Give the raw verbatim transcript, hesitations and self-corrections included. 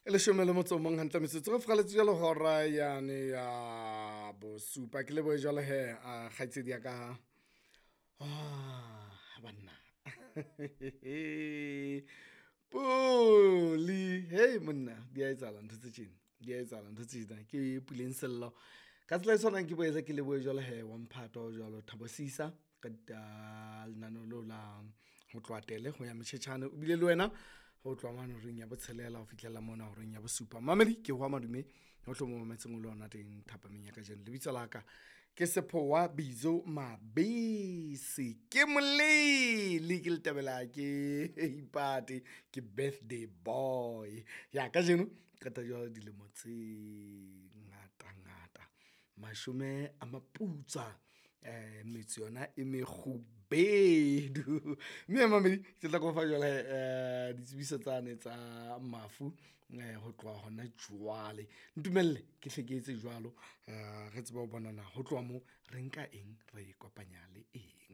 E leshome le motso o mong hantle metsotso re furaletse jwalo hora yane ya bosupa. Ke lebohe jwalo he a kgaitsedi ya ka, ah banna Puli hei monna, di a etsahala ntho tse tjena, di a etsahala ntho tse tjena. Ke Puleng Sello ka tsela e tshwanang, ke boetse ke lebohe jwalo he wa mphato jwalo Thabo Sisa ka lenaneo leo la ho tloha tele ho ya motjhetjhane. O bile le wena ho tloha mane horeng ya botshelela ho fihlela mona horeng ya bosupa. Mamedi ke hwa madume hohle mo mametseng o le hona teng thapameng ya kajeno. Lebitso la ka ke Sephowa Bizo Mabese, ke molele ke letebela ke ipate ke birthday boy ya kajeno. Qeta jwalo dilemo tse ngata ngata, mashome a maputswa, um metso yona e mekgubedu. Mme mamedi ke tla kofa jwale um ditsebiso tsane tsa mafu um ho tloha hona jwale. Ntumelle ke hle ke etse jwalo, um re tsebe ho bonana ho tloha moo re nka eng, re e kopanya le eng.